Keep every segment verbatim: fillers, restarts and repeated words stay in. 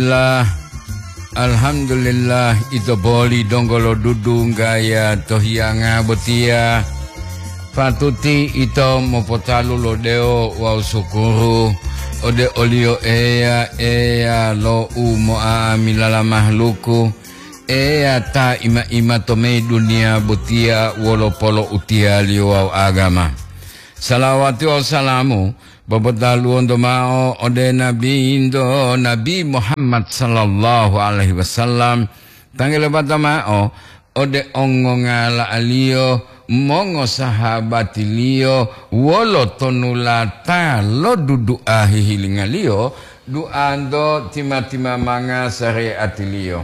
Alhamdulillah, alhamdulillah, ito boli donggo lo dudunggaya to hiyanga botiya. Patuti ito mopotalu lo dewo wawu sukuru ode oliyo Eya, Eya lo umo'amilala mahaluku, Eya ta ima-ima to meyi duniya botiya wolo polo'utiyaliyo wawu agama. Salawati wawu salamu popotaluwonto mao ode Nabinto, Nabi Muhammad sallallahu alaihi wasallam, tanggulo bata mao ode ongongala'aliyo, mongosahabatiliyo, wolo tonulata lo dudu'a hihilingaliyo, du'anto tima-timamanga sare'atiliyo.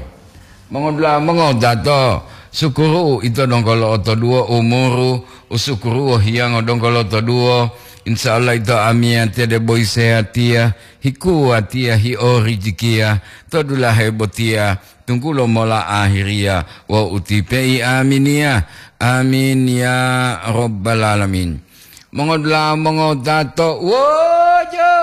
Mongodula'a mongodato, sukuru'u ito donggo lo'otoduwo umuru, usukuru'u hiyango donggo lo'otoduwo. Insya Allah ito amiyatiya debo isehatiya, hikuwatiya, hiorijikiya, to dulahe botiya, tunggulo mola ahiriya, wawu utipe'i aminiya. Amin ya rabbal alamin. Mongodula'a mongodato, wojo!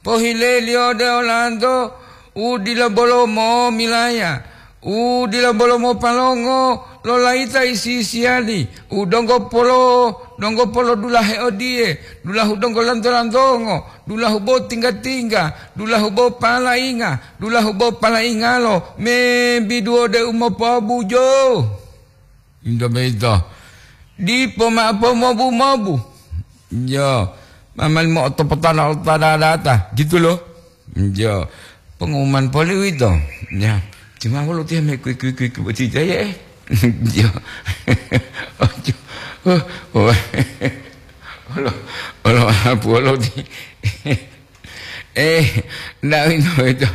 Pohileliyo ode olanto u dila bolo momilaya, u dila bolo mopalongo lo layita isi-isiyali, u donggo polo, donggo polodulahe odiye, dulahu donggo lanto-lantongo, dulahu bo tingga-tingga, dulahu bo palainga, dulahu bo palaingalo, membidu ode u mopobujo. Into boyito, dipo mao pomobu-mobu. Jo, mamali mo'otopotala lo ta dadata, gitu loh. Jo, pengumuman poli uwito. Ya, cuma wolo tiya me kui-kui-kui boti jaye, eh. Jo. Ojo. Oh, oh. Olo, olo, apu olo ti. Eh, ndak uwito, uwito.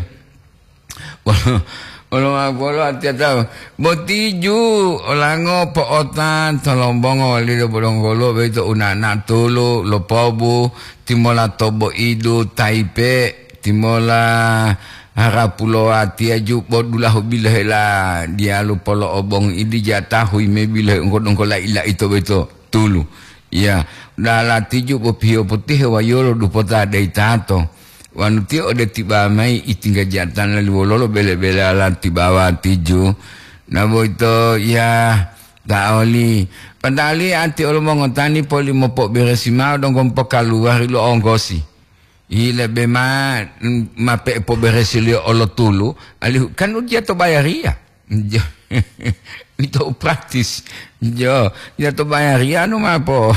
Wolo, wolo, wolo atiyata botiju olango po'otan tolombongo walido bodonggolo boyito unana tulu lopobu, timola tobo'idu taipe, timola harapulo watiya ju bo dulahu bilohela diyalu polo'obongu idi jatahu yime bilohe ungko-ungko la'i-la'ito boyito tulu. Ya, dalatiju bo piyopotihe wayolo dupota de'itato. Wanu tiyo ode tiba mayi itingga jatana li wololo bele-bele alanti bawa tiju. Na boyito ya ta'oli. Padahali ati olo mongotani poli mopoberesi mao donggo mopokaluwari lo onggosi. Yi lebe ma, ma pe'e poberesiliyo olo tulu, alihu kan ujiya to bayariya. Jo. Ito u praktis. Jo, ya to bayariya nu ma po,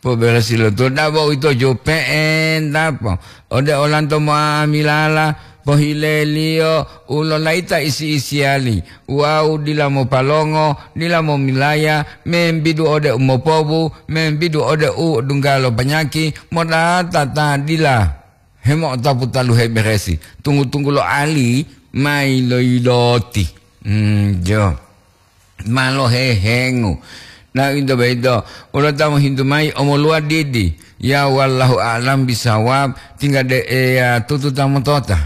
poberesi lo to dabo ito jo pe'enta po. Ode olanto moamilala, pohileliyo u lolayita isi-isiyali, wawu dila mopalongo, dila momilaya, membidu ode u mopobu, membidu ode u dunggalo panyaki, modata ta dila hemo'otapu talu heberesi, tunggu-tunggu lo ali ma yiloyiloti. Hmm, jo. Ma lohehengu. Na uwito boyito, wolo ta mohintu mayi omoluwa didi. Ya wallahu a'lam bisawab, tingga de Eya tutu ta motota.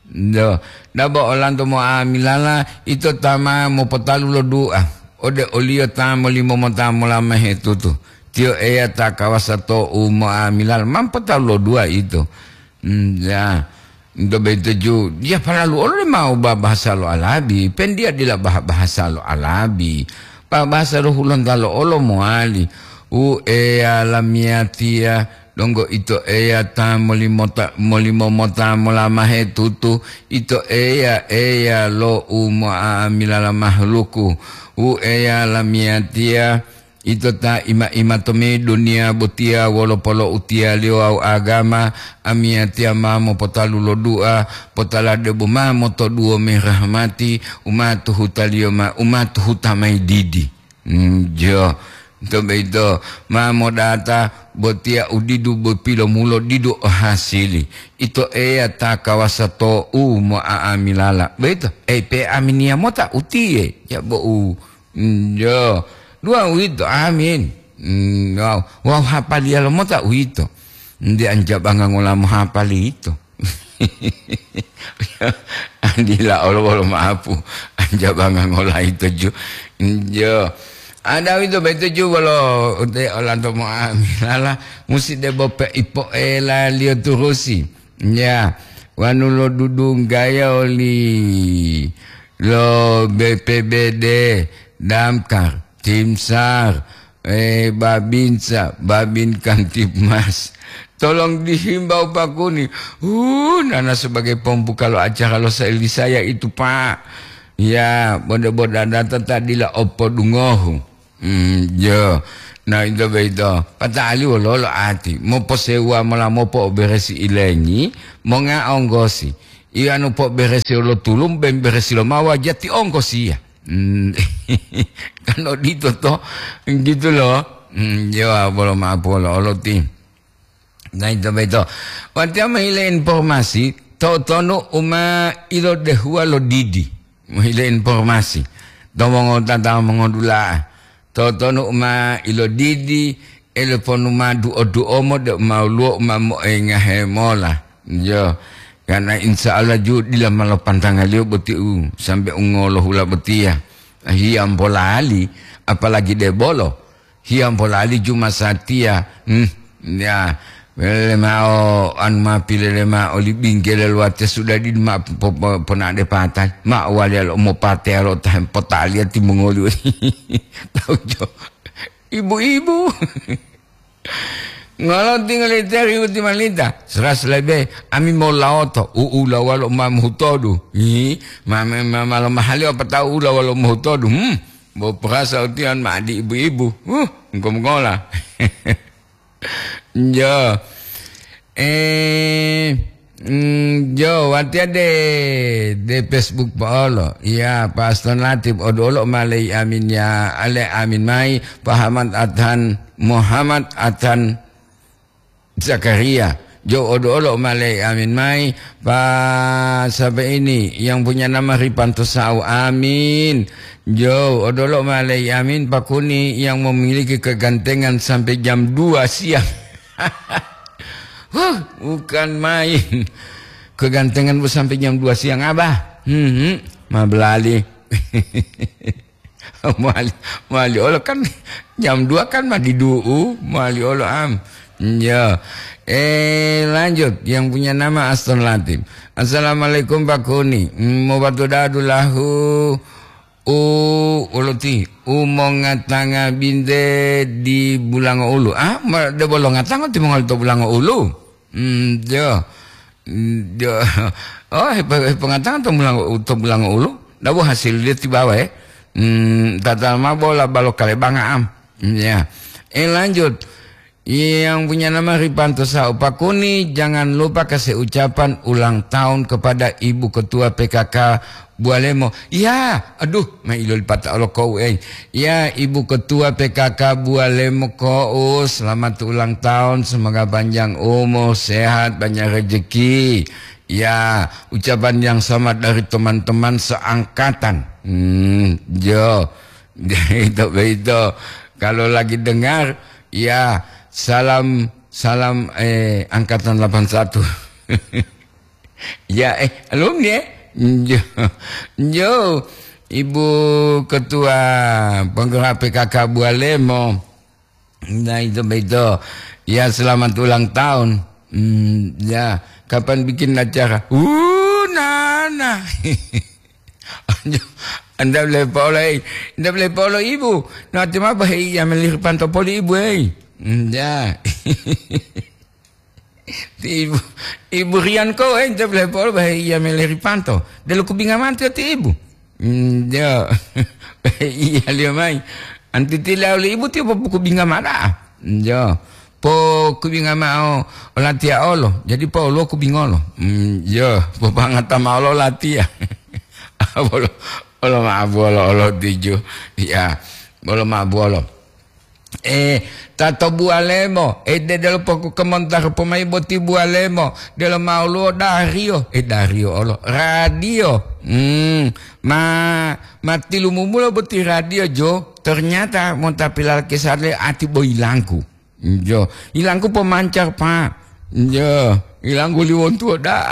Do, dabo olanto moamilala, ito ta ma mopotalu lo dua ode oliyo ta molimo mota mola mahetutu. Tiyo Eya ta kawasa to u moamilala, ma mopotalu lo dua ito. Hmm, ya. Nto boyito ju, ya palalu olo le mau ba-, bahasa lo Alabi, pen dia dila bah-, bahasa lo Alabi. Ba-, bahasa lo Hulontalo olo mowali. U Eya lamiyatiya, donggo ito Eya ta molimota-, molimo mota molamahe tutu, ito Eya, Eya lo u mo'amilala mahaluku. U Eya lamiyatiya, Ito ta ima-ima tomimbihu duniya botiya wolo poloutiyaliyo wawu agama, amiyatiya ma mopotalu lo dua, potala debo ma motoduwo mayi rahmati u ma tuhutaliyo ma-, u ma tuhuta mayi didi. Njo, to boyito ma modata botiya u didu bo pilomulo didu o hasili. Ito Eya ta kawasa to u mo'a'amilala. Boyito, ei pe aminiya mota utiye, ya bo u Njo, dua uwito, amin. Mm, wawu, wawu hapaliya lomota uwito. Nde anjabanga ngola mohapali yito. Dila olo wolo maapu, anjabanga ngola yito ju. Njo. Ada uwito boyito ju wolo ute olanto mo'amilala, musi debo pe ipo'elaliyo turusi. Ya, wanu lodudunggaya oli lo B P B D, Damkar, Timsar, eh, Babinsa, Babin Kamtibmas. Tolong dihimbau Pak Kuni. Uh, nana sebagai pembuka lo acara lo Seli saya itu, Pak. Ya, boda-boda data tadila opodungohu. Hmm, jo. Nah, ito boyito. Pata'ali wololo ati. Moposewa mola mopo'oberesi ilengi, monga onggosi. Iyanu po'oberesi lo tulum, bemberesi lo mawa, jati onggosi ya. Hmm, kan odito to. Gitu loh. Hmm, jo, bolo maaf wolo olo ti. Nah, ito boyito. Watiya mohile informasi, to'otonu u ma ilodehuwa lo didi. Mohile informasi. To mongotata mongodula'a. To'otonu u ma ilodidi, eleponu ma duo-duomo de u ma woluwo u ma moengahe mola. Jo. Karena insya Allah ju dila ma lopantangaliyo boti u sambe u ngolohula botiya. Hiyambolali, apalagi debolo. Hiyambolali ju masatiya. Hmm, ya, lele mao anu ma pilele mao oli bingkele luwate sudah di ma po-, po-, ponade patai. Ma waliya lo mopateya lo ta hempotaliya timongoli. Tahu jo. Ibu-ibu. Ngolo tinggal ite riwuti malita. Seras lebe, ami molaoto. U'ula walo ma muhutodu. Hi, ma, ma, ma, malo mahali apa tahu ula walo muhutodu. Hmm. Bo perasa utian ma di ibu-ibu. Huh, engko mongola. Jo. Eh, mm, jo, watiya de, de Facebook po'olo. Iya, Pak Aston Latif, oduolo ma lei amin ya, ale amin mai, Pak Hamad Adhan, Muhammad Adhan Zakaria. Jo, oduolo ma lei amin mai, Pak, siapa ini yang punya nama Ripanto Sau, amin. Jo, oduolo ma lei amin, Pak Kuni yang memiliki kegantengan sampai jam dua siang. Huh, bukan main. Kegantengan bu sampai jam dua siang, Abah. Hmm, hmm. Ma belali. Mali, mali olo kan jam dua kan ma didu'u, mali olo am. Ya. Eh, lanjut, yang punya nama Aston Latif. Assalamualaikum, Pak Kuni. Hmm, mau batu dadu lahu. U, uluti, u mongatanga binte di Bulango Ulu. Ah, ma, de bolo ngatango timongoli to Bulango Ulu. Hmm, jo. Hmm, jo. Oh, hepo-, hepongatanga to Bulango, to Bulango Ulu. Dabo hasil dia tibawa, eh. Hmm, tata ma bola balo kalebanga am. Hmm, ya. Eh, lanjut. Yang punya nama Ripanto Sau Pakuni, jangan lupa kasih ucapan ulang tahun kepada Ibu Ketua P K K Bualemo. Ya, aduh, ma ilolipata olo kou, eh. Ya, Ibu Ketua P K K Bualemo kou, selamat ulang tahun, semoga panjang umur, sehat, banyak rezeki. Ya, ucapan yang sama dari teman-teman seangkatan. Hmm, jo. Itu begitu. Kalau lagi dengar, ya, salam, salam, eh, angkatan delapan satu. Ya, eh, alumni, eh? Jo, jo, Ibu Ketua Penggerak P K K Bualemo. Nah, itu begitu. Ya, selamat ulang tahun. Hmm, ya, kapan bikin acara? Uh, nana. Anda boleh polo, eh. Anda boleh polo, Ibu. Nanti ma bahaya meliri panto poli, Ibu, eh. Hmm, ya. Ti Ibu, Ibu Rian ko, eh, ente boleh polo bahaya meliri panto. Delo kubinga mantu ti Ibu. Hmm, ya. Iya, liyo mai. Anti tila oli Ibu ti popukubinga mada. Hmm, ya. Po kubinga mao olatiya olo. Jadi po olo kubingolo. Hmm, ya. Po pangata mao lo latiya. Bolo, bolo ma bolo olo tiju. Ya. Bolo ma bolo. Eh, tato Bualemo, eh, de-, delo poku kemontar pomai boti Bualemo, delo mauluwo dario, eh, dario olo, radio. Hmm, ma, ma tilumumulo boti radio jo, ternyata monta pilalakisale ati boyilangku. Jo, ilangku pemancar, Pak. Jo, ilangku liwontuwo da.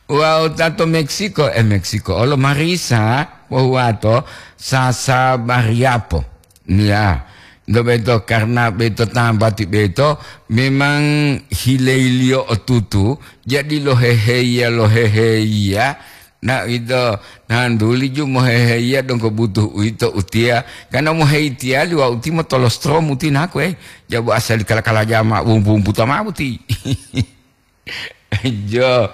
Wawu tato Meksiko, eh, Meksiko, olo Marisa, wawu wato Sasa Mariapo. Ya, Do beto, karena beto tambati beto memang hileiliyo otutu, jadi loheheya, loheheya. Na ito, nanduli ju moheheya donggo butuh uwito utiya, karena moheitiya liwa uti motolostrom uti naku, eh. Jabu asali kala-kala jama wumpu-wumputa ma buti. Jo,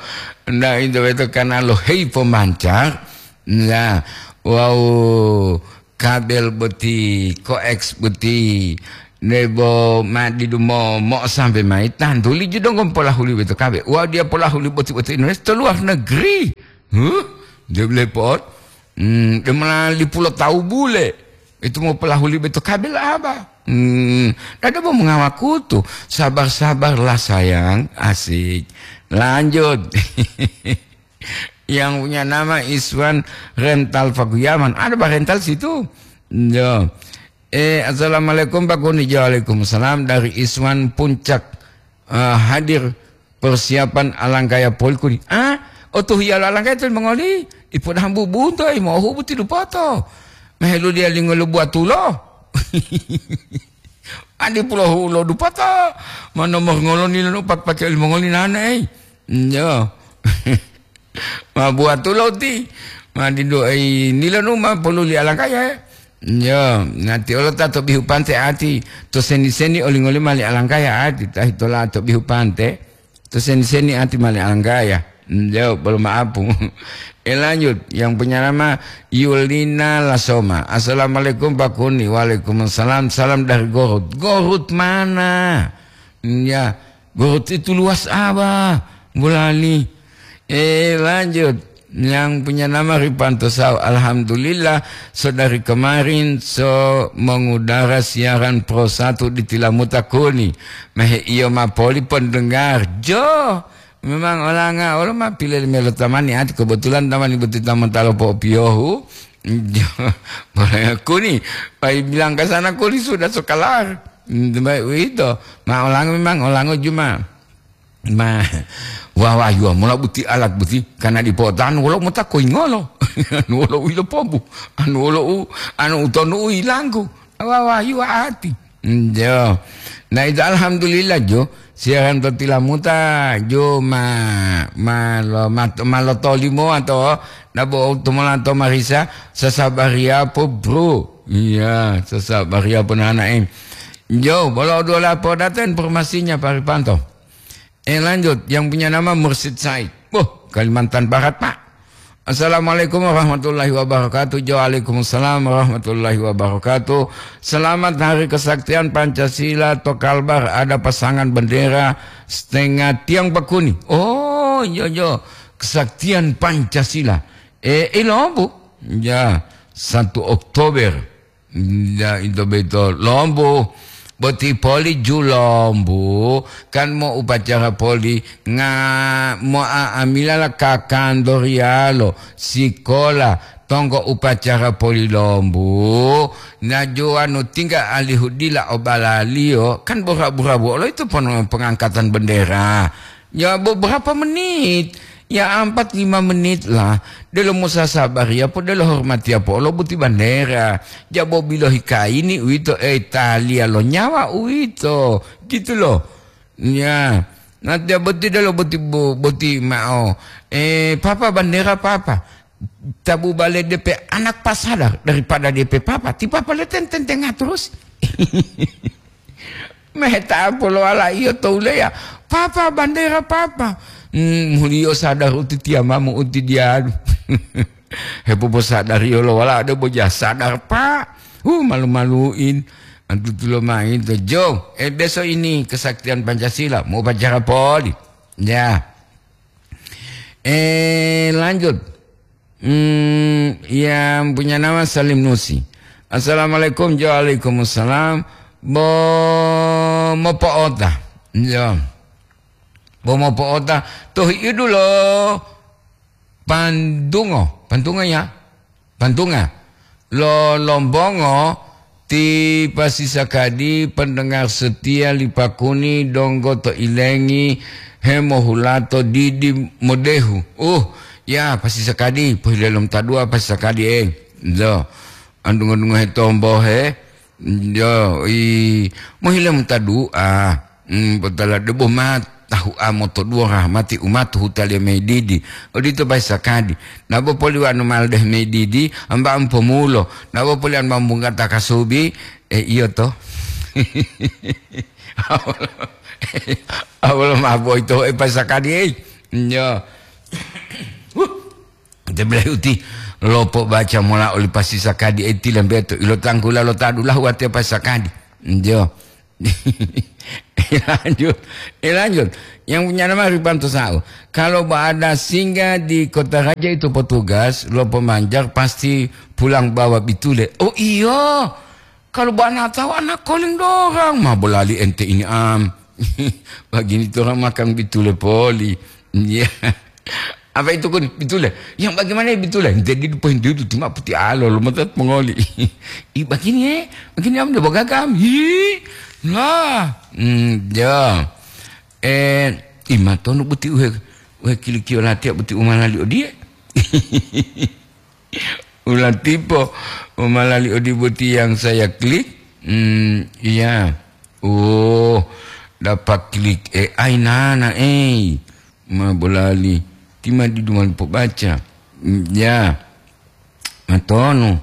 na ito beto karena lohei pemancar, nah, wau kabel boti, koeks boti, nebo madidu mo, mo sampai mai, tantuli ju donggo polahuli beto kabel. Wau dia polahuli boti-boti Indonesia to luar negeri. Huh? Dia beli pot. Hmm, dia malah lipula tahu bule. Itu mau pelahuli beto kabel apa? Hmm, ada mau mengawaku tuh. Sabar-sabarlah sayang, asik. Lanjut. Yang punya nama Iswan Rental Pakuyaman. Ada Pak Rental situ? Yo. Eh, assalamualaikum Pak Kuni. Waalaikumsalam dari Iswan Puncak. Eh, hadir persiapan alangkaya poli kuni. Ah, otuhiya lo alangkaya to mongoli. Ipodahambu bunto, imo hubu tilupoto. Mehelu dia lingolo buatulo. Adi pulo hulo dupoto. Mano mongolo nilo nupak pakai mongoli nane, eh. Yo. Ma buatulo ti, ma didu ai nilanu ma poluli alangkaya, eh. Yo, nati olo ta to bihu pante ati, to seni-seni oling-oling mali alangkaya ati, ta hitola to bihu pante, to seni-seni ati mali alangkaya. Yo, bolo maapu. Eh, lanjut, yang punya nama Yulina Lasoma. "Assalamualaikum Pak Kuni." "Waalaikumsalam, salam dari Gorut." "Gorut mana?" Ya, Gorut itu luas apa? Bulali. Eh, lanjut. Yang punya nama Ripanto Sau. "Alhamdulillah, so dari kemarin so mengudara siaran Pro satu di Tilamuta Kuni. Mehe iyo ma poli pendengar." Jo, memang olanga, olo ma pile melo tamani ati, kebetulan tamani boti tamata lo po'opiyohu. Jo, boleh Kuni, pai bilang ke sana Kuni sudah so kelar. Hmm, baik, uwito. Ma olango memang, olango juma. Ma, wawayuwa mola buti alat buti, karena dipotanu wolo mota koingolo. Anu wolo u ilopombu, anu wolo u, anu utonu u ilanggu. Wawayuwa ati. Njo. Nah, itu alhamdulillah, jo. Siaran to Tilamuta, jo, ma, ma lo, ma, ma lo tolimo atau nabo to mola to marisa, sasabaria po, bro. Iya, sasabaria po nanae. Jo, bolo dua lapo data informasinya, Pak Ripanto. Eh, lanjut, yang punya nama Mursid Said. Wah, Kalimantan Barat, Pak. "Assalamualaikum warahmatullahi wabarakatuh." Jo, waalaikumsalam warahmatullahi wabarakatuh. "Selamat Hari Kesaktian Pancasila to Kalbar, ada pasangan bendera setengah tiang Pak Kuni." Oh, jo, jo. Kesaktian Pancasila. Eh, ilombu. Ya, satu Oktober. Ya, ito beto. Lombu. Boti poli ju lombu. Kan mo upacara poli. Nga mo a-, amila la kakandorialo. Sikola. Tonggo upacara poli lombu. Na ju anu tingga alihu dila obalaliyo. Kan bura-bura bolo itu pon-, pengangkatan bendera. Ya, beberapa menit. Ya, empat lima menit lah. Delo musasabar ya po, delo hormat ya po, lo buti bandera. Jabo bilohi kaini uwito, eh, taliya lo nyawa uwito. Gitu loh. Ya. Nanti ya boti delo boti bu-, boti mao. Eh, papa bandera papa. Tabu bale D P anak pasadar daripada D P papa. Ti papa le ten-, ten-, tengah terus. Meheta polo ala iyo to uleya, "Papa, bandera, Papa." Hmm, muliyo sadar uti tiyamamu uti diyalu. Hepoposadariyo lo wala ade boja sadar, Pak. Hu, malu-maluin. Antutulo main to, Jo. Eh, besok ini kesaktian Pancasila, mau upacara poli. Ya. Eh, lanjut. Hmm, yang punya nama Salim Nusi. "Assalamualaikum." Jo, waalaikumsalam. Bo mopo'ota. Jo. Bo mopo'ota. Tohi idulo Pandungo. Pandungo ya? Pantunga. Lo Lombongo ti pasisakadi pendengar setia li Pakuni donggo to ilengi hemohulato didi modehu. Uh, ya pasisakadi, pohile lom tadua pasisakadi, eh. Do. Andungo-dungo he tombo he. Yo, i, mohile muta du'a. Hmm, botala debo ma tahu amo to duo rahmati umatu hutaliyo mayi didi. Odito pai sakadi. Nabo poli wanu maldeh mayi didi, amba ampomulo. Nabo poli anu mambunggata kasubi, e, iyo to. Awolo, awolo ma boyito e pai sakadi, ei. Yo. Huh. Te bele uti lopo baca mola oli pasi sakadi e tilambeto. Ilo tangkula lo tadu lahu ate pai sakadi. Yo. Lanjut, eh, lanjut. Yang punya nama Ribanto Sao. Kalau ada singgah di Kota Raja itu petugas, lo pemanjar pasti pulang bawa bitule. Oh iyo, kalau bana tahu anak koling dorang, mah bolali ente ini am. Begini orang makan bitule poli. Iya. Apa itu kun bitule? Yang bagaimana ya bitule? Jadi dipohin dulu cuma putih alo lo mata mengoli. I begini ya, begini am de bagagam. Hi. Lah. Hmm, ya. Eh, imatonu buti uhe, uhe kilikio latia buti umalali odie. Ulatipo umalali odi buti yang saya klik. Hmm, iya. Oh, dapat klik A I nana, eh. Ma bolali. Tima di duman pobaca. Hmm, ya. Matonu.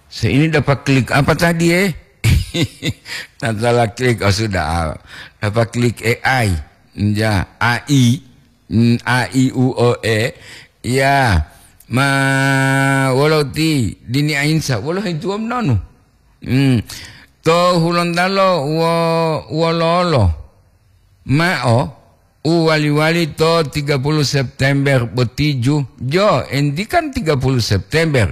Saya ini dapat klik apa tadi, eh? Tak salah klik, oh sudah. Dapat klik A I. Ya, A I. Mm, A I U O E. Ya. Ma wolo ti dini ainsa, wolo hintuwam nonu. Mm. To Hulontalo wo, wololo. Mao, uwali-wali to tiga puluh September botiju. Jo, enti kan tiga puluh September.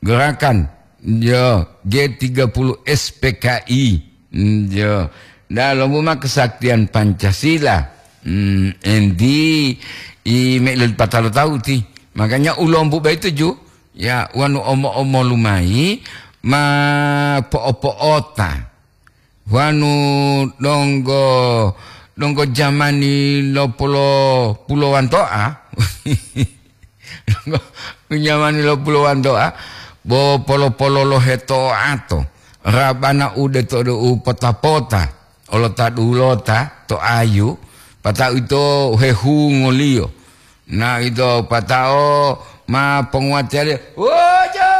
Gerakan, jo, G tiga puluh S P K I. Mm, jo. Nda lombu ma kesaktian Pancasila. Mm, enti i me'lil patalo tauti. Makanya ulombu baitu ju, ya, wanu omo-omo lumayi, ma po'o-po'ota. Wanu donggo, donggo jamani lo pulo, pulowanto'a. Jamani lo pulowanto'a, bo polo-pololohe to'ato. Rabana ude to do u pota-pota, olo ta dulota to ayu, pata'u ito hehungoliyo. Na ito patao ma ponguwatiyaliyo, "Wojo!"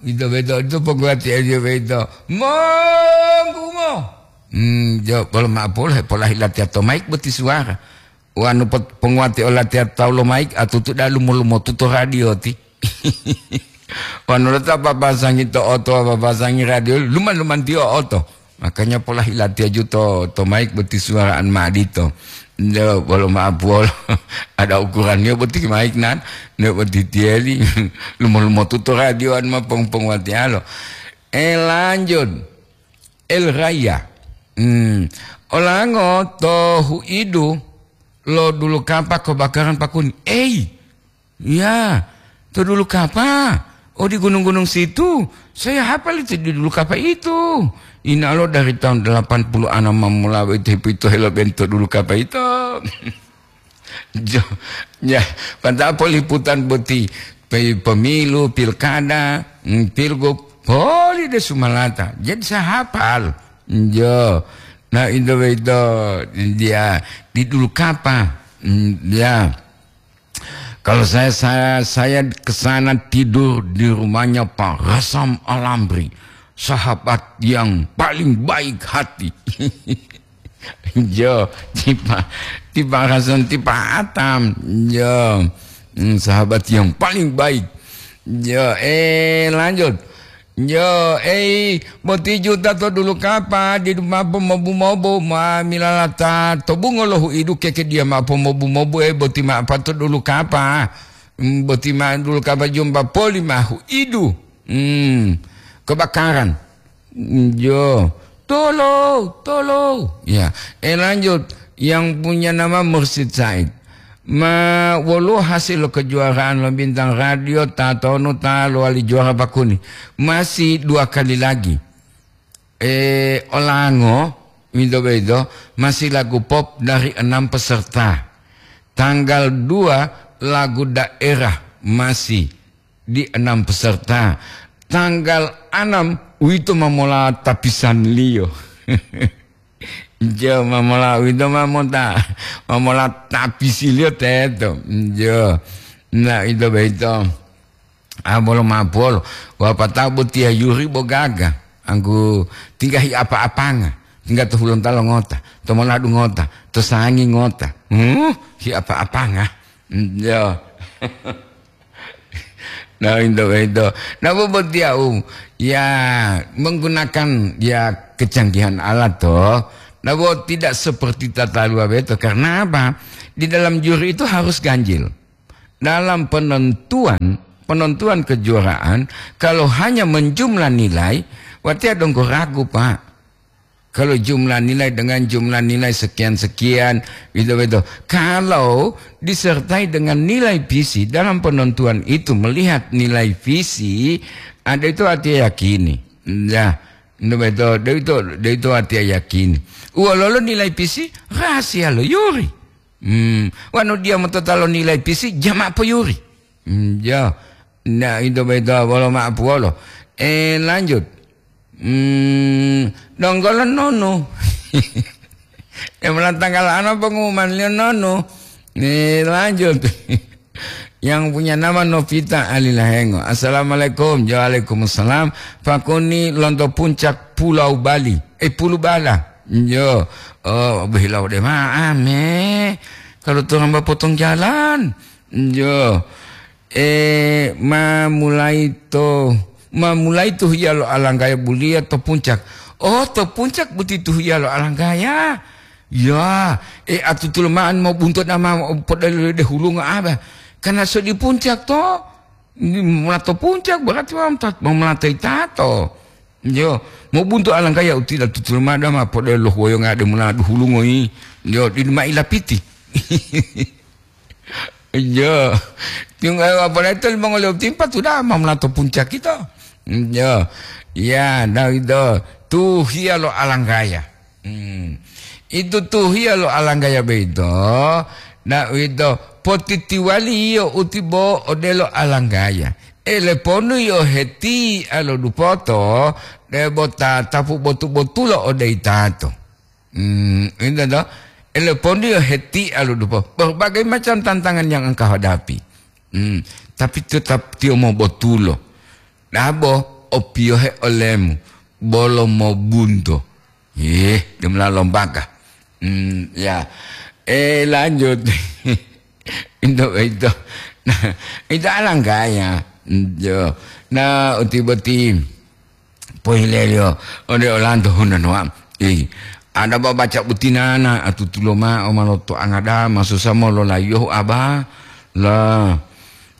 Ito beto, ito ponguwatiyaliyo beto, "Monggumo!" Hmm, jo, bolo ma'o polo hepolahi latiya to maik boti suwara. Wanu pot-, ponguwati olatiya tawu lo maik, atutu da'a lumo-lumotu to radio ti. Wanu lota papasangi to oto, papasangi radio, luman-lumantiyo oto. Makanya pola hilatiyaju to, to maik boti suwaraan ma'o adito. Nde bolo ma'o puwolo. Ada ukuranniyo boti maik nan, nde boti tiyeli. Lumo-lumotu to radio an ma pong-ponguwatiyalo. Eh, lanjut. El Raya. Hmm. Olango to huidu lo dulu kapa kebakaran pakuni. Ei, ya, to dulu kapa. Oh, di gunung-gunung situ. Saya hafal itu di dulu kapa itu. Ina lo dari tahun delapan puluh enam mamula itu hipito helo bento dulu kapa itu. Jo, ya, pada poliputan boti pe-, pemilu, pilkada, mm, pilgub, poli de sumalata. Jadi saya hafal. Jo. Nah, itu itu dia di dulu kapa. Mm, ya. Kalau saya, saya, saya ke sana tidur di rumahnya Pak Rasam Alamri, sahabat yang paling baik hati. Jo, tipa, tipa Rasam, tipa Atam. Jo, hmm, sahabat yang paling baik. Jo, eh, lanjut. Yo, ei, boti juta to dulu kapa, didu ma'o pomobu-mobu, ma milalata to bungo lo huidu keke dia ma'o pomobu-mobu, ei, boti ma'o pa to dulu kapa. Mm, boti ma'o dulu kapa jumba poli ma huidu. Mm, kebakaran. Mm, yo, tolo, tolo. Ya, eh, lanjut. Yang punya nama Mursid Said. Ma woluwo hasil lo kejuaraan lo Bintang Radio tatonu ta lowali juara pakuni? Masih dua kali lagi. Eh, Olango, winto boyito, masih lagu pop dari enam peserta. Tanggal dua lagu daerah masih di enam peserta. Tanggal enam uwito ma mola tapisanliyo. Jo, ma mola uwito ma mota, ma mola tapisiliyo teto. Jo. Nah, ito boyito. Ah, bolo mapolo. Wapatao botiya yuri bo gaga. Anggu tingga hi apa-apanga. Tingga to Hulontalo ngota, to Manado ngota, to Sangi ngota. Hmm, hi apa-apanga. Hmm, ya. Nah, itu, itu. Nah, bobotiya u, ya, menggunakan, ya, kecanggihan alat, toh. Nah, bo tidak seperti tata luar beto. Karena apa? Di dalam juri itu harus ganjil. Dalam penentuan, penentuan kejuaraan, kalau hanya menjumlah nilai, watiya donggo ragu, Pak. Kalau jumlah nilai dengan jumlah nilai sekian-sekian, gitu-gitu. Kalau disertai dengan nilai visi dalam penentuan itu, melihat nilai visi, ada itu watiya yakini. Ya, gitu-gitu. Ada itu, ada itu watiya yakini. Uwololo nilai visi, rahasia lo yuri. Hmm, wanu dia motota lo nilai pisi, jama poyuri. Hmm, ya. Nah, itu beda bolo ma puwolo. Eh, lanjut. Hmm, donggolo nonu. Yang mana tanggal ano pengumuman liyo nonu. Eh, lanjut. Yang punya nama Novita Alilahengo. Assalamualaikum. Waalaikumsalam. Pakuni lonto puncak Pulau Bali. Eh, Pulu Bala. Yo. Oh, behilau deh, ma, ame. Kalau tu hamba potong jalan. Yo. Eh, ma mulai to, ma mulai to hiya lo alanggaya buliya to puncak. Oh, to puncak buti to hiya lo alanggaya. Ya, eh, atutulo ma'an mo bunto dama podelo de hulunga aba. Karena so di puncak to, di mula to puncak berarti ma mata-, ma mula to itato. Yo, mo bunto alanggaya utila tutulo ma dama podelo huwoyo ngade mula duhulungo yi. Yo, di ma ilapiti. Iya. Tinggal apalagi itu limongoliyo timpa sudah ma melato puncak itu. Iya. Ya, nah itu. Tuhiya lo alanggaya. Hmm. Itu tuhiya lo alanggaya beito. Nah, itu potitiwaliyo utibo odelo alanggaya. Ele ponu yo heti alo dupoto, debo tatapu botu-botulo ode itato. Hmm, itu toh. Ele pondiyo heti alu dupo. Berbagai macam tantangan yang engkau hadapi. Hmm, tapi tetap tiyo mobotulo. Dabo opiyohe olemu. Bolo mobunto. Eh, demla lombaga. Hmm, ya. Eh, lanjut. Itu, itu. Nah, itu alanggaya. Yo. Nah, uti boti. Pohileliyo, ode olanto hunano am. Eh, ada babaca butinana, atutulo ma'o maloto angada, masusa mololayiyohu aba. La,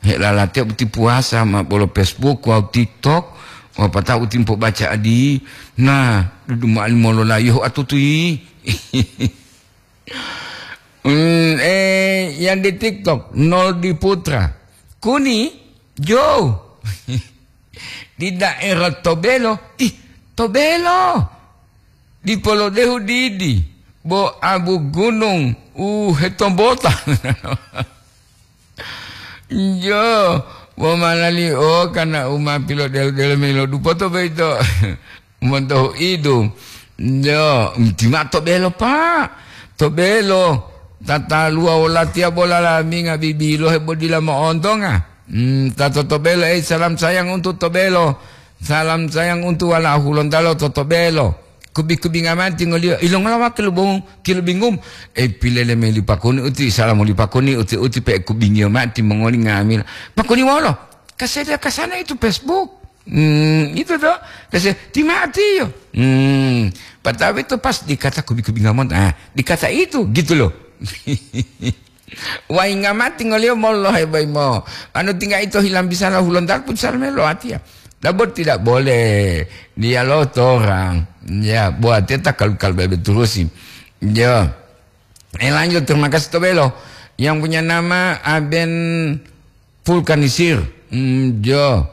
helalatiya uti puwasa ma bolo Facebook wawu TikTok, wapatau uti mpobaca adi, nah, dudu ma'ali mololayiyohu atutuyi. Hmm, eh, yang di TikTok, Noldi Putra. Kuni, Jo. Di daerah Tobelo. Ih, Tobelo. Di Polodehu didi. Bo abu gunung, uh, hetombota. Jo, bo malali, oh, karena uma pilodelo-delo milo dupoto boyito. Monto hu'idu. Yo, ti ma'o Tobelo, Pak. Tobelo. Tataluwa wolatiya bola laminga bibilohe bo dila mo'ontonga. Hmm, ta to Tobelo, eh, salam sayang untuk Tobelo. Salam sayang untuk wala'u Hulontalo to Tobelo. Kubi-kubinga mati ngoliyo. Ilongola wa kilubung-, kilubingum? Eh, pilele me li pakuni uti, salamu li pakuni uti, uti pe kubingiyo mati mongoli ngamila. Pakuni wolo? Kasada kasana itu Facebook. Hmm, itu toh. Kasi, timatiyo. Hmm, pertama itu pas dikata kubi-kubi ngamon. Ah, dikata itu, gitu loh. Wai ngamati ngoliyo molohe boimo. Anu tinggal itu hilang bisa lah hulontar pun salah melo atia. Dabot tidak boleh. Dia lo orang. Ya, buat dia tak kalau kalau bebe terusin. Ya. Eh, lanjut, terima kasih Tobelo. Yang punya nama Aben Vulkanisir. Hmm, jo.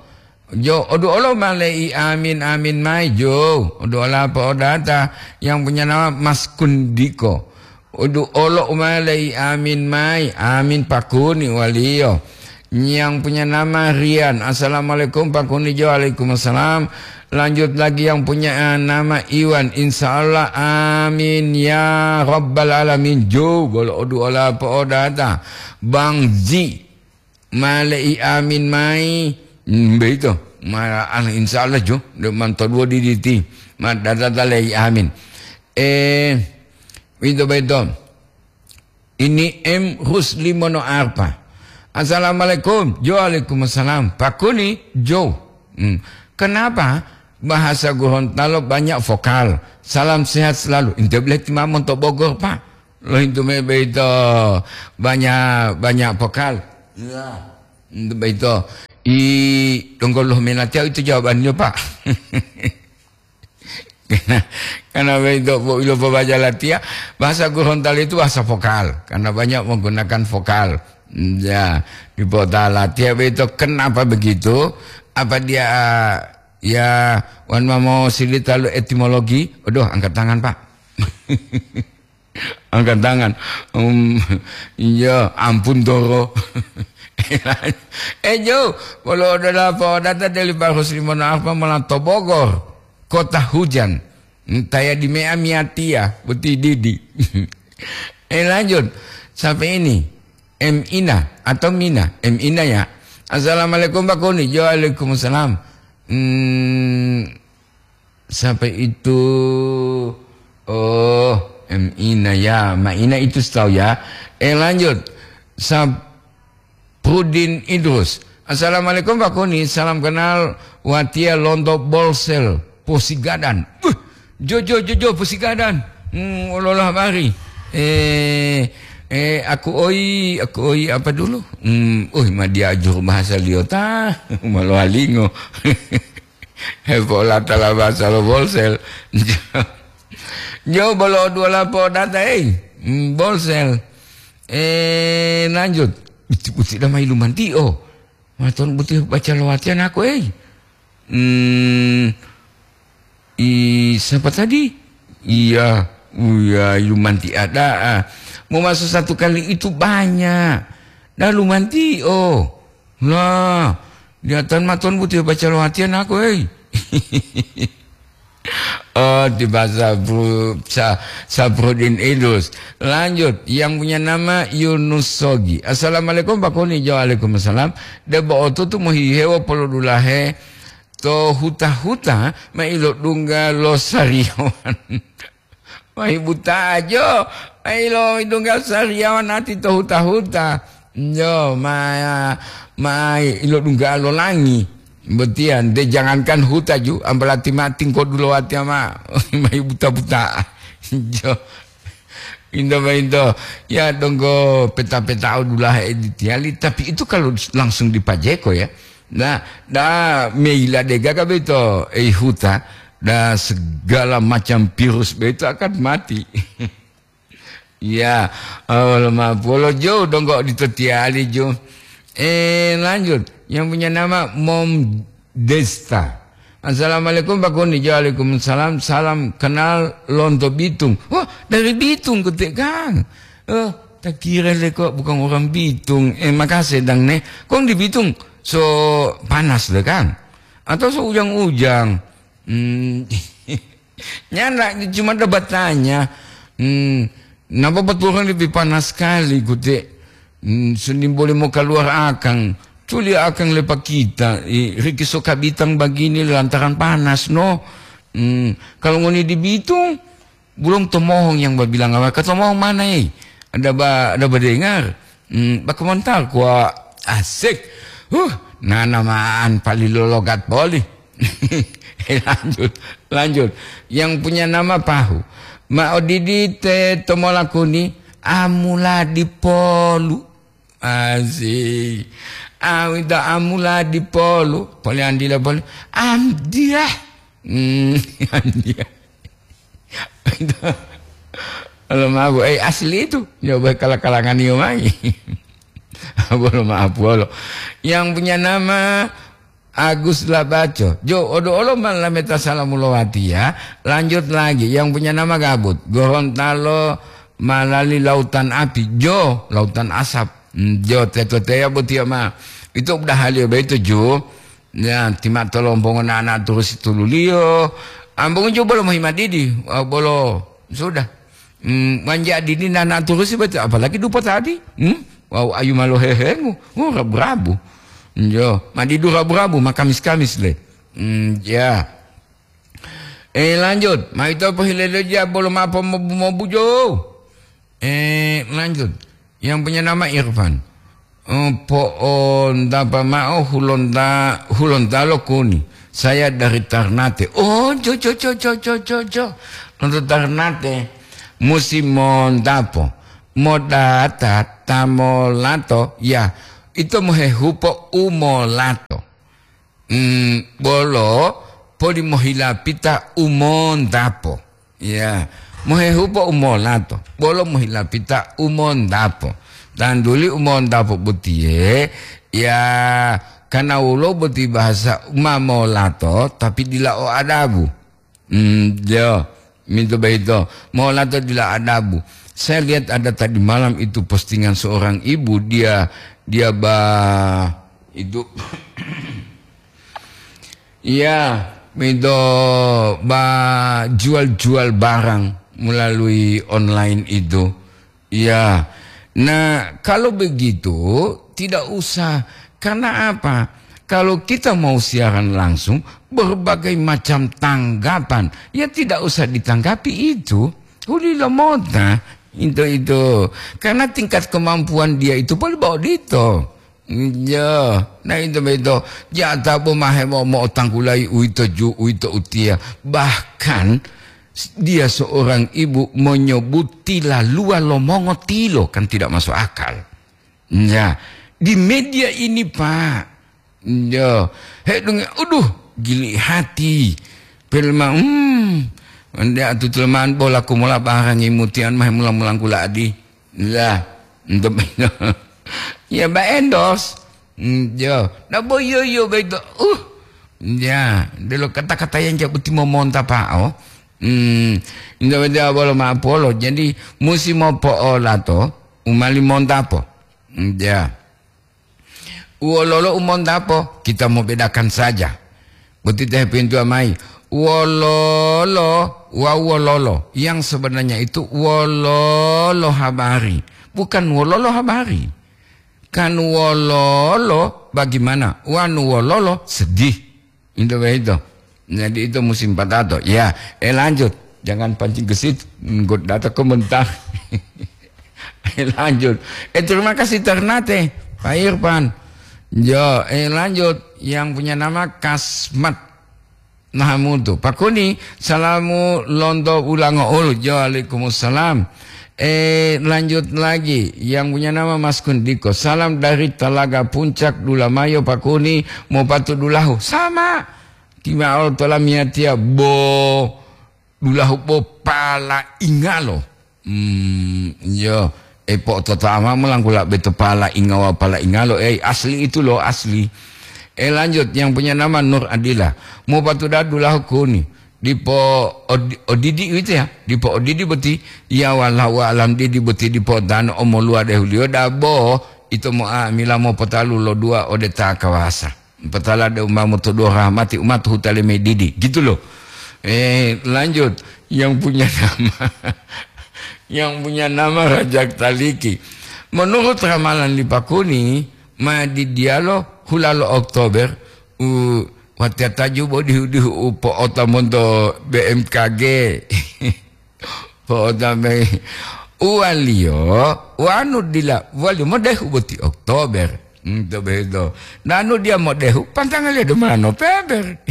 Jo, odu olo malei amin, amin mai, jo. Odu ola apa odata yang punya nama Mas Kundiko. Odu olo malei amin mai, amin pakuni waliyo. Yang punya nama Rian. Assalamualaikum, Pak Kuni Jo. Waalaikumsalam. Lanjut lagi yang punya, eh, nama Iwan. Insya Allah, amin ya rabbal alamin. Jo, bolo odu ola po odata. Bang Zi, male'i amin mai. Hmm, beito. Ma, ah, insya Allah, Jo. De manto duo diditi. Ma, data le'i amin. Eh, beito, beito. Ini M Rusli Mono Arpa. "Assalamualaikum." Jo, "Waalaikumsalam." "Pak Kuni, Jo. Hmm. Kenapa bahasa Gorontalo banyak vokal? Salam sehat selalu." Ente boleh timamon to Bogor, Pak. Loh, itu me beito banyak, banyak vokal. Ya. Itu beito. I, donggo loh menatiau itu jawabannya, Pak. Karena, karena begitu, Bu, ilopobacalatia, bahasa Gorontalo itu bahasa vokal, karena banyak menggunakan vokal. Ya, di Potalatia begitu. Kenapa begitu? Apa dia, ya, wan mamo sili talu etimologi? Aduh, angkat tangan, Pak. Angkat tangan. Um, iya, ampun, Toro. Eh, Jo, bolo odola po data deli Pak Rusli Mono Arpa mola to Bogor. Kota hujan. Taya di mea miatia, boti didi. Eh, lanjut. Sampai ini. M Ina atau Mina? M Ina ya. "Assalamualaikum, Pak Kuni." Jo, "Waalaikumsalam." Hmm, sampai itu, oh, M Ina ya. Ma Ina itu setahu ya. Eh, lanjut. Sab- Prudin Idrus. "Assalamualaikum, Pak Kuni. Salam kenal, Watia Lonto Bolsel, Posigadan." "Wih, Jo, Jo, Jo, Jo, Posigadan. Hmm, ololah bari. Eh, eh, aku oi, aku oi apa dulu? Hmm, uh, ma dia juru bahasa liota, maloalingo." Hepola tala bahasa lo Bolsel. Jo, bolo dua lapo data, eh. Hmm, Bolsel. Eh, lanjut. Buti-buti damai lumanti, oh. Maton buti baca lowatian aku, eh. Hmm, i, siapa tadi? Iya, iya, lumanti ada. Ah. Mau masuk satu kali itu banyak. Dah lumanti, oh. Lah, niatan maton buti baca lowatian aku, hei. Oh, tiba Sabru-, Sa-, Sabrudin Idrus. Lanjut, yang punya nama Yunus Sogi. "Assalamualaikum, Pak Kuni." Jo, "Waalaikumsalam." Debo otutu mohihewo polodulahe to huta-huta ma ilodungga lo sariyawan. Mahi buta jo, ma ilo idungga sariyawan ati to huta-huta. Jo, ma, ma ilodungga lo langi." Botiya, nte jangankan huta ju, ambalati mati ngkodulo watiya ma, mayi buta-buta. Jo. Into ma into, ya donggo peta-peta odulahe editiyali, tapi itu kalau langsung dipajeko ya. Nah, da meila dega ka beto, ei huta, da segala macam virus beto akan mati. Ya, Allah maaf. Wolo jo donggo odito tiyali jo. Eh, lanjut. Yang punya nama Mom Desta. "Assalamualaikum, Pak Kuni." Jo, "Waalaikumsalam. Salam kenal lonto Bitung." Wah, dari Bitung kote, Kang. Oh, tak kira le kok bukan orang Bitung. Eh, makasih dang ne. Kong di Bitung so panas le, Kang? Atau so ujang-ujang? Hmm. Nyanda cuma ada batanya. Hmm, napa betul kan lebih panas sekali, Gute? Hmm, seni boleh mau keluar akang. Culi akang lepa kita, eh, riki so kabitang bagini lantaran panas, no? Hmm, kalau ngoni di Bitung, bulong tomohong yang babilang apa? Katomohong mana, eh? Ada ba-, ada badengar? Hmm, bakumontal kuwa asik. Huh, nanamaan pali lologat poli. Lanjut, lanjut. Yang punya nama Pahu. Ma odidi te tomolakuni, amula dipolu. Asik. Awita amula dipolu. Poli andila poli. Amdiah. Hmm, andiah. Kalau mabu, eh, asli itu. Coba kala-kalangan iyo mai. Bolo maaf, bolo. Yang punya nama Agus Labaco. Jo, odo olo malameta salamu lowati ya. Lanjut lagi. Yang punya nama Gabut. Gorontalo malali lautan api. Jo, lautan asap. Hmm, jo, teto teya botiya ma. Ito udahaliyo boyito ju, ya, ti ma'o tolombongo nana turusi tululiyo, ambongo ju bolo mohimadidi, wawu bolo sudah. Mm, wanja dini nana turusi boyito, apalagi dupo tadi. Hmm? Wawu ayu ma lohehengu, oh, rabu-rabu. Yo, ma didu rabu-rabu, ma kamis-kamis le. Hmm, ya. Eh, lanjut. Ma ito pohilelo ja bolo ma pomobu-mobu jo. Eh, lanjut. Yang punya nama Irfan. Eh, po'ondapo ma'o hulonta-, hulontalo kuni. Saya dari Tarnate. Oh, jo, jo, jo. Lonto Tarnate. Musi mondapo. Modata ta molato, ya, ito mohehupo u molato. Mm, bolo poli mohilapita u mondapo. Ya, mohehupo u molato, bolo mohilapita u mondapo. Tanduli u mondapo botiye, ya, karena wolo boti bahasa ma molato, tapi dila o adabu. Hmm, yo, mintu boyito. Molato dila adabu. Saya lihat ada tadi malam itu postingan seorang ibu, dia, dia ba, itu, ya, mintu ba jual-jual barang melalui online itu. Ya, nah, kalau begitu tidak usah. Karena apa? Kalau kita mau siaran langsung, berbagai macam tanggapan, ya tidak usah ditanggapi itu. Hulilo mota, itu, itu. Karena tingkat kemampuan dia itu poli bo odito. Ya, nah, itu beto. Jata bo mahe mo, mo tanggulai uito ju, uito utia. Bahkan dia seorang ibu menyebut tilaluwa lo mongotilo, kan tidak masuk akal. Ya, di media ini, Pak. Ya, hedunge, aduh, gili hati. Pelma, hmm, ande atutuleman bola kumola barangi mutian mahe mula-mulangkula adi. Lah, untuk ya, Mbak Endos. Hmm, ya, nah, bo, yo, yo, beto. Uh, ya, delo kata-kata yang jabu timo monta, Pak, oh. Hmm, inda wede awalo ma'o polo. Jadi, musi mopo'olato, umali montapo. Hmm, ya. Wololo u montapo, kita mau bedakan saja. Boti teh pintu amai. Wololo, wa wololo. Yang sebenarnya itu wololo habari. Bukan wololo habari. Kan wololo bagaimana? Wanu wololo sedih. Itu begitu. Jadi itu musim patato. Ya, eh, lanjut. Jangan pancing gesit. Nggot data komentar. Eh, lanjut. Eh, terima kasih Ternate, Pak Irfan. Jo, eh, lanjut. Yang punya nama Kasmat Nahamutu. Pak Kuni, salamu lonto ulango ulu. Jo, waalaikumsalam. Eh, lanjut lagi. Yang punya nama Mas Kundiko. Salam dari Talaga Puncak, Dulamayo, Pak Kuni, mau patu dulahu. Sama. Tima'o tolamiyatiya bo dulahu bo pala ingalo. Hmm, iyo. E, po'ototama molangkula beto pala ingawa pala ingalo. Eh, asli itu loh, asli. Eh, lanjut, yang punya nama Nur Adila. Mau patu dulahu kuni. Dipo odi-, odidi gitu ya. Dipo odidi boti. Ya, wallahu alam didi boti dipo tanu omoluwa dehuliyo dabo. Ito mo amila mo potalu lo dua ode ta kawasa. Patala de umamo to dua rahmati umatu hutale medidi. Gitu loh. Eh, lanjut. Yang punya nama, yang punya nama Rajak Taliki. Menurut ramalan li Pakuni, ma di dialo hulalo Oktober, u, watiya taju bo dihu-dihu u po'ota monto B M K G. Po'otambangi. Uwaliyo, wanu dila, waliyo modehu boti Oktober. Hmm, to beto. Nanu dia modehu, pantangaliyo duma November.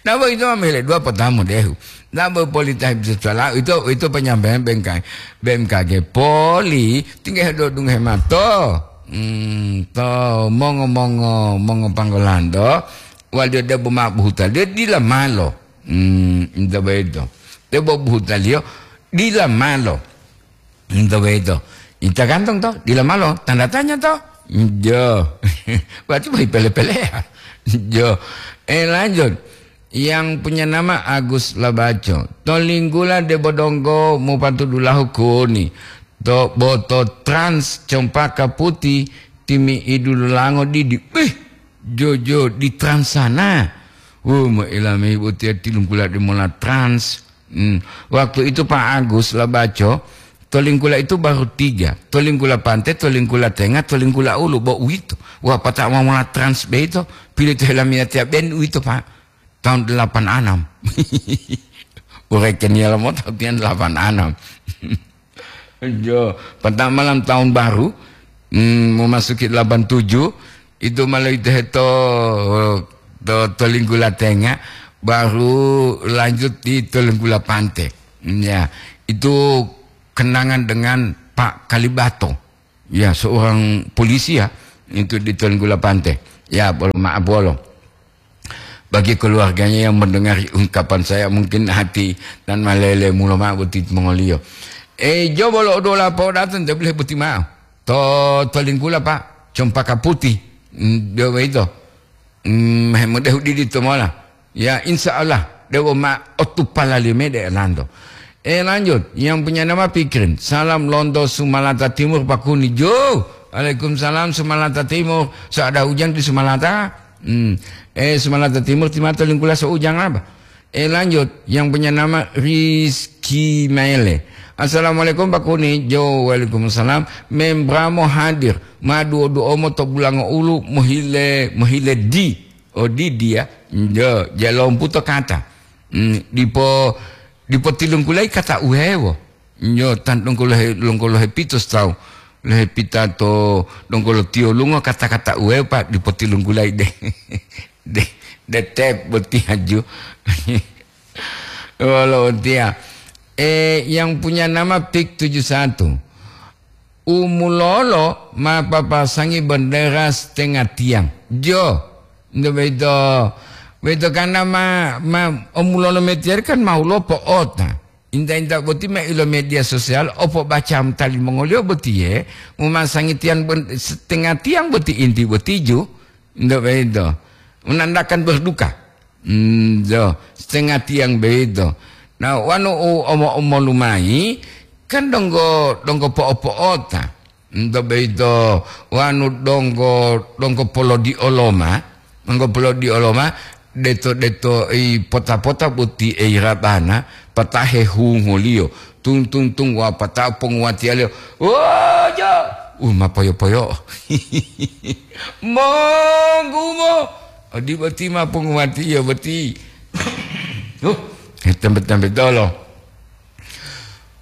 Nabo ito ma mele dua pota modehu. Nabo polita bisa salah, itu, itu penyampaian B M K, B M K G poli, tinggal do dunge mato. Hmm, to mongo-mongo, mongo panggolando. Waliyo debo ma buhuta, dia dila malo. Hmm, ito beto. Debo buhutaliyo dila malo. Ito beto. Ita gantong to, dila malo. Tanda tanya to. Jo. Berarti bohi pele-pelea. Jo. Eh, lanjut. Yang punya nama Agus Labaco. To linggula debo donggo mupatu dulahu kuni. To boto Trans Cempaka Putih Timi'idu lolango didi, beh, jojo di Trans sana. Wo, mo'ila mayi botiya tilunggula de mola Trans. Hmm. Waktu itu Pak Agus Labaco, Tolinggula itu baru tiga. Tolinggula Pante, Tolinggula Tenga, Tolinggula Ulu, bo uwito. Wah, pata'o ma mola Trans beito, pilih to helamiyatiya ben uwito, Pak. Tahun delapan enam. Urekeniyalo mo tahun delapan enam. Jo, pertama malam tahun baru, hmm, memasuki delapan tujuh, itu malah itu heto to, to Linggula Tenga, baru lanjut di Tolinggula Pante. Ya, itu kenangan dengan Pak Kalibato. Ya, seorang polisi ya, itu di Tolinggula Pante. Ya, bolo maaf bolo. Bagi keluarganya yang mendengari ungkapan saya, mungkin hati dan malele mulo ma'o boti mongoliyo. Eh, jo bolo odola po datang, tapi boleh boti ma'o. To, to Linggula, Pak, Cempaka Putih. Mm, dia begitu. Mm, hemodehu didi to mola. Ya, insya Allah, dewo ma otupala limede elanto. Eh, lanjut, yang punya nama Pikirin. Salam lonto Sumalata Timur, Pak Kuni. Jo, waalaikumsalam Sumalata Timur. So ada hujan di Sumalata? Hmm. Eh, Sumalata Timur, timato lingkula so ujang apa? Eh, lanjut, yang punya nama Rizky Maele. Assalamualaikum, Pak Kuni. Jo, waalaikumsalam. Membramo hadir. Ma duo-duo mo to bulango ulu, mohile, mohile di. Oh, di dia. Jo, jalompu to kata. Hmm, dipo, dipo tilungkulai kata uhewo. Nyo tan donggo lohe, donggo lohe pito tawu. Lohe pita to donggo lo tiyo lungo kata-kata uhewo, Pak, dipo tilungkulai de. De, de tep boti haju. Wolo utia. Eh, yang punya nama Pik tujuh satu. Umulolo ma papasangi bendera setengah tiang. Jo, nto beito, beito karena ma, ma omulolo metiyari kan ma ulopo ota. Inta-inta boti ma ilo media sosial, opo baca tali mongoliyo botiye, mumasangi tiang ben-, setengah tiang boti inti botiju. Nto beito. Menandakan berduka. Nto, setengah tiang beito. Nah, wanu u omo-omolu mayi, kan donggo, donggo po'o-po'ota. Nto beito, wanu donggo, donggo polodioloma, donggo polodioloma, deto-deto i pota-pota boti e irabana, patahe hungoliyo. Tung, tung, tung, wapatao ponguwatiyaliyo. Wojo! Uh, ma poyo-poyo. Monggumo! Odi boti ma ponguwatiyo boti. Uh, tembe-tembe dolo.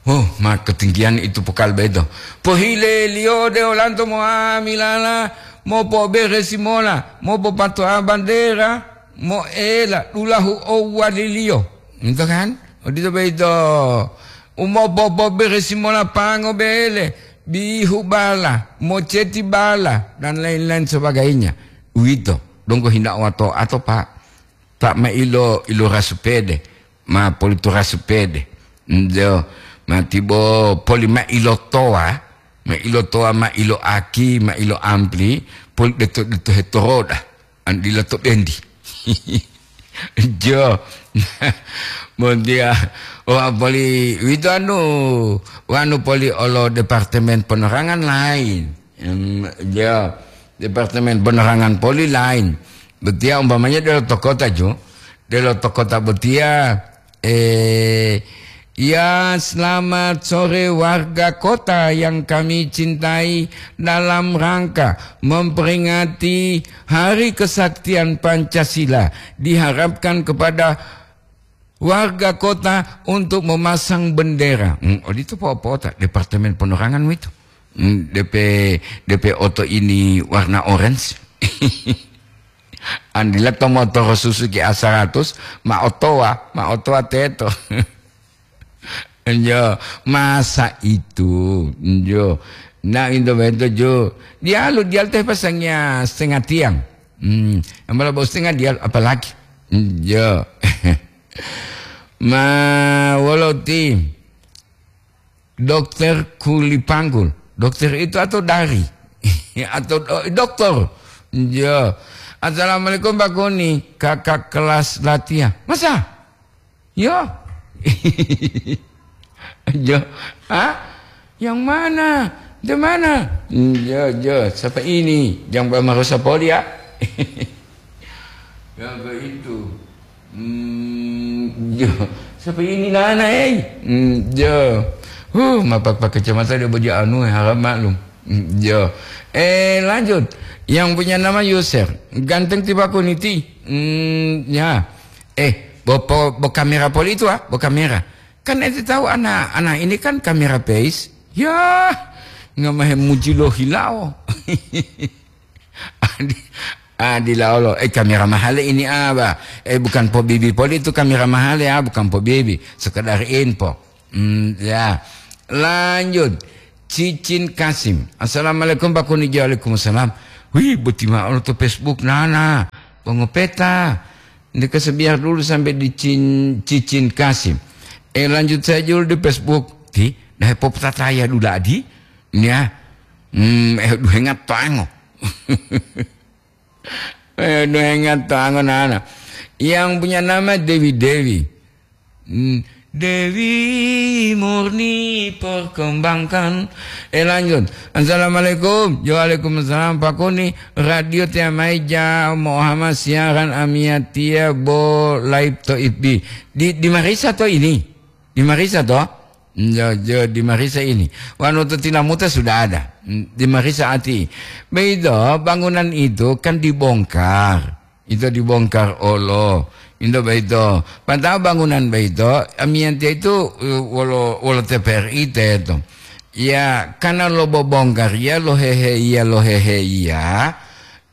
Oh, ma ketinggian itu pokal bedo. Pohileliyo de olanto moamilala, mopoberesi mola, mopopatoa bandera, moela dulahu owaliliyo. Gitu kan? Odito bedo. Umopopoberesi mola pango bele, bihu bala, moceti bala, dan lain-lain sebagainya. Uwito, donggo hinda owato ato, Pak. Pak, ma ilo, ilo rasupede, ma polito rasupede. Njo, ma tibo poli ma ilo toa, ma ilo toa, ma ilo aki, ma ilo ampli, poli deto, deto hetoroda. An dila to bendi. Jo. Mondia, wa poli wito anu, wanu poli olo Departemen Penerangan lain. Em, jo. Departemen Penerangan poli lain. Betia umpamanya delo to kota jo. Delo to kota betia, eh, ya, selamat sore warga kota yang kami cintai. Dalam rangka memperingati Hari Kesaktian Pancasila, diharapkan kepada warga kota untuk memasang bendera. Hmm, odito po-, po-, Departemen Penerangan itu. Hmm, D P, D P oto ini warna orange. Andila to motoro Suzuki A seratus, ma otowa, ma otowa teto. Njo, masa itu, njo. Nah, into bento jo. Dialu, dialu teh pasangia setengah tiang. Hmm, yang malah bau setengah dialu, apalagi. Njo. Ma, wolo ti. Dokter Kulipanggul. Dokter itu atau dari? Atau do-, dokter? Ya. Assalamualaikum, Pak Kuni. Kakak kelas latihan. Masa? Ya. Ya. Hah? Yang mana? Di mana? Hmm, jo, jo, siapa ini? Jangan marusa poli ya. Ya, begitu. Hmm, jo, siapa ini nana, eh? Hmm, jo. Huh, mapak pakai kacamata dia baju anu, eh, harap maklum. Hmm, jo. Eh, lanjut. Yang punya nama Yusef. Ganteng tiba kuniti. Hmm, ya. Eh, bo, bo, bo kamera poli itu, ah, bo kamera. Kan ente tahu anak-anak ini kan kamera base. Ya, nggak mahe muji lo hilao. Adi, adi laolo. Eh, kamera mahale ini, ah, ba. Eh, bukan pobibi poli itu kamera mahale, ah, bukan pobibi. Sekedar info. Hmm, ya. Lanjut. Cicin Kasim. Assalamualaikum, Pak Kuni. Waalaikumsalam. Wih, boti ma'o to Facebook, nana. Pongopeta. Ini kasebiar dulu sampai di Cin-, Cicin Kasim. Eh, lanjut saja dulu di Facebook. Ti, nah, popotataya dulu adi. Ya. Hmm, eh, duhenga tango. Eh, duhenga tango, nana. Yang punya nama Dewi Dewi. Hmm, Dewi Murni perkembangkan. Eh, lanjut. Assalamualaikum. Waalaikumsalam, Pak Kuni. Radio T M I ja Muhammad siaran Amiatia bo live to F B. Di, di Marisa to ini? Di Marisa to? Jo, jo, di Marisa ini. Wanu to Tilamuta sudah ada. Hmm, di Marisa ati. Begitu, bangunan itu kan dibongkar. Ito dibongkar olo. Into boyito. Pata'o bangunan boyito, amiyatiya itu, eh, wolo, wolo T P R I teto. Ya, karena lo bobongkar iya, lo hehe iya, lo hehe iya,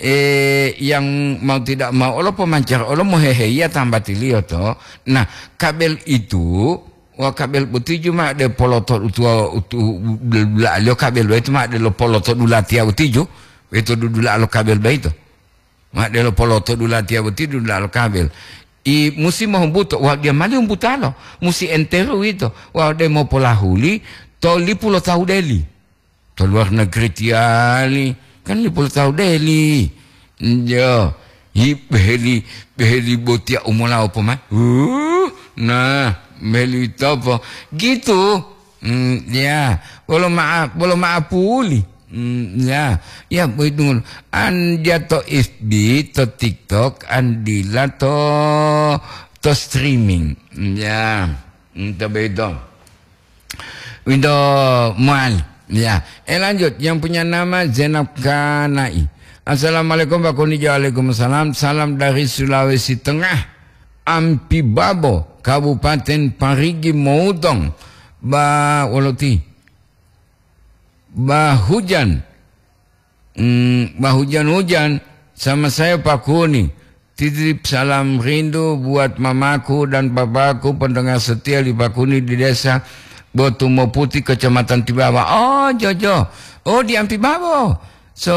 eh, yang mau tidak mau, olo pemancar, olo mohehe iya tambatiliyo to. Nah, kabel itu, wa kabel boti ju ma de poloto utuwa, utu, dula'aliyo kabel boyito ma de lo poloto dulatiya boti ju, boyito dudula'a lo kabel boyito. Ma delo poloto dulatiya boti dudula'a lo kabel. I musi mohumbuto, wa diya mali humbutalo, musi enteru uwito, wa de mopolahuli to lipu lo tawu deli. To luar negeri tiyali, kan lipu lo tawu deli. Jo, hi beheli, beheli botiya umolawo pomai. Uh, nah, beheli topo. Gitu. Hmm, ya, bolo ma'a-, bolo ma'apuli. Hmm, ya, ya, boyito ngolo. An dia to F B, to TikTok, an dila to, to streaming. Ya, hmm, to boyito. Winto mual. Ya, eh, lanjut. Yang punya nama Zainab Kanai. Assalamualaikum, Pak Kuni. Waalaikumsalam. Salam dari Sulawesi Tengah. Ampibabo, Kabupaten Parigi Motong. Ba, woloti. Bah hujan. Hmm, bah hujan-hujan sama saya Pak Kuni. Titip salam rindu buat mamaku dan papaku pendengar setia di Pak Kuni di desa Botumo Putih, Kecamatan Tibawa. Oh, Jojo. Oh, di Ampibabo. So,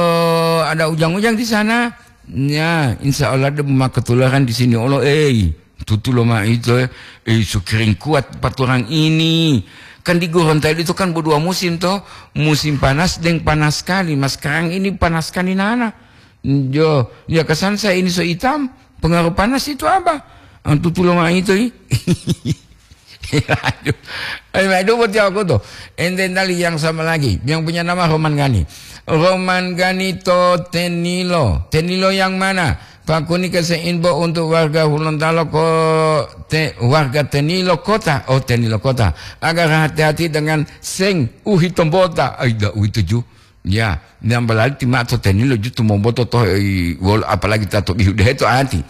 ada ujang-ujang di sana? Ya, insya Allah dia mau ketularan di sini. Allah, eh. Tutulo ma'o ito, eh, eh, sukiring kuat paturang ini. Kan di Gorontalo itu kan bodua musim to, musim panas deng panas sekali. Mas sekarang ini panas sekali nana. Jo, ya kesan saya ini so hitam, pengaruh panas itu apa? Ah, tutulo ma'o ito, i. Aduh. Ayo, aduh, buat aku tuh. Ente tali yang sama lagi, yang punya nama Roman Gani. Roman Gani to Tenilo. Tenilo yang mana? Pakuni kese inbo untuk warga Hulontalo ko te-, warga Tenilo Kota. Oh, Tenilo Kota. Agar hati-hati dengan seng uhi tombota. Ai, da uwito ju. Ya, nyambalali tima to Tenilo ju tumomboto to, i, wol-, apalagi ta to bihu dehe to ati.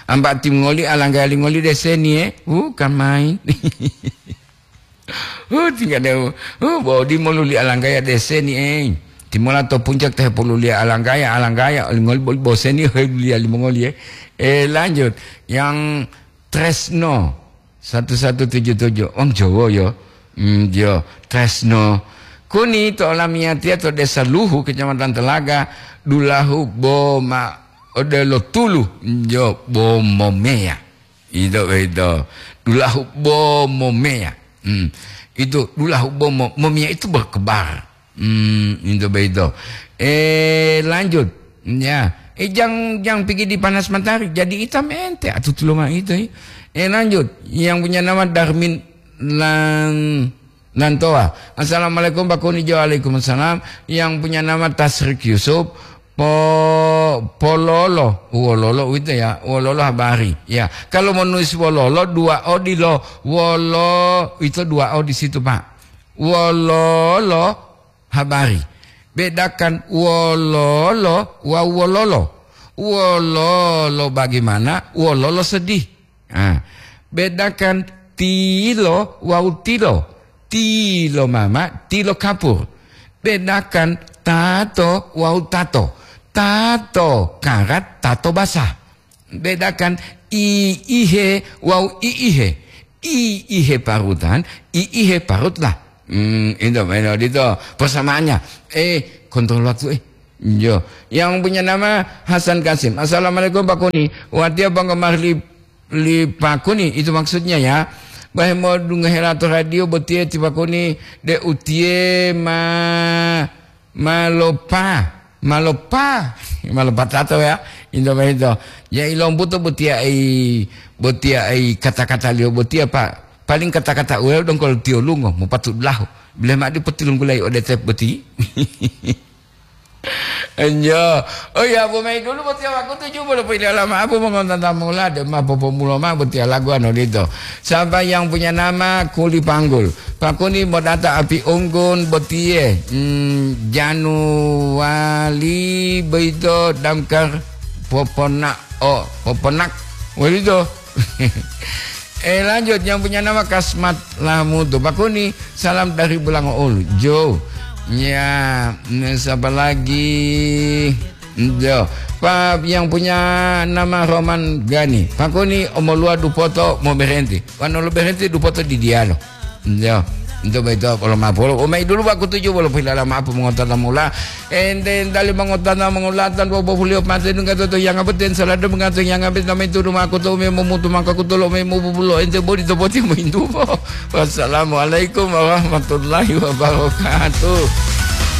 Amba timongoli alanggaya lingoli deseni, eh. Bukan main. Huh, tingga de'u. Huh, bo dimo luli alanggaya deseni, eh. Timola to puncak te hepoluliya alanggaya, alanggaya, olingoli boli boseni, heluliya limongoli, eh. Eh, lanjut. Yang Tresno, satu satu tujuh tujuh. Wong Jowo, yo. Hmm, yo, Tresno. Kuni to olamiyatiya to Desa Luhu, Kecamatan Telaga, dulahu bo ma odelo tulu, yo, bo momeya. Ito boyito, dulahu bo momeya. Hmm. Itu dulahu bo mo-, momeya itu berkebar. Hmm, ito boyito. Eh, lanjut. Ya. Eh, jang, jang pigi di panas matahari, jadi hitam ente. Atu tulunga itu, eh. Eh, lanjut. Yang punya nama Darmin Lang-, Nantoa. Assalamualaikum, Pak Kuni. Waalaikumsalam. Yang punya nama Tasrik Yusuf. Po-, pololo. Wololo uwito ya. Wololo habari. Ya. Kalau menulis wololo, dua O dilo. Wolo, itu dua O di situ, Pak. Wololo habari. Bedakan wololo wawu wololo. Wololo bagaimana? Wololo sedih. Ah, bedakan tilo wawu tilo. Tilo mama, tilo kapur. Bedakan tato wawu tato. Tato karat, tato basah. Bedakan iihe wawu iihe. Iihe parutan, iihe parutlah. Hmm, itu, itu, itu persamaannya. Eh, kontrol waktu, eh. Yo, yang punya nama Hasan Kasim. Assalamualaikum, Pak Kuni. Watiya penggemar li, li Pak Kuni, itu maksudnya ya. Bahe modungohe lato radio botiye ti Pak Kuni, de utiye ma, malopa, malopa, malopa tato ya. Into boyito. Ya ilombuto botiya ai, botiya ai kata-kata liyo botiya, Pak. Paling kata-kata uweo dongkol tiyo lungo, mopatu dulahu. Bile ma'o dipotilunggulayi ode tep boti. Enjo. Oh ya, bu mayi dulu botiya wakutu ju bolo poilala ma'o bu mongontata mula de ma popomulo ma'o botiya lagu anu dito. Siapa yang punya nama Kuli Panggul? Pakuni modata api unggun botiye. Hmm, Januali boyito damkar poponak. Oh, poponak. Boyito. Eh, lanjut, yang punya nama Kasmat Lamutu. Pak Kuni, salam dari Bulangoulu. Jo. Ya, mm, siapa lagi? Jo. Pak, yang punya nama Roman Gani. Pak Kuni, omoluwa dupoto mau berhenti. Wano lo berhenti dupoto di dialo. Jo. Untuk itu, kalau maaf, kalau umai dulu waktu tujuh, walaupun dalam apa mengatakan mula. Ente entali mongotana mongolatan bobohuliyo pate nunggatoto yanga beten salado mengato yanga beten name tudu makuto me momutu maka kutolo me mobubulo ente bodi to boti mointupo. Wassalamualaikum warahmatullahi wabarakatuh.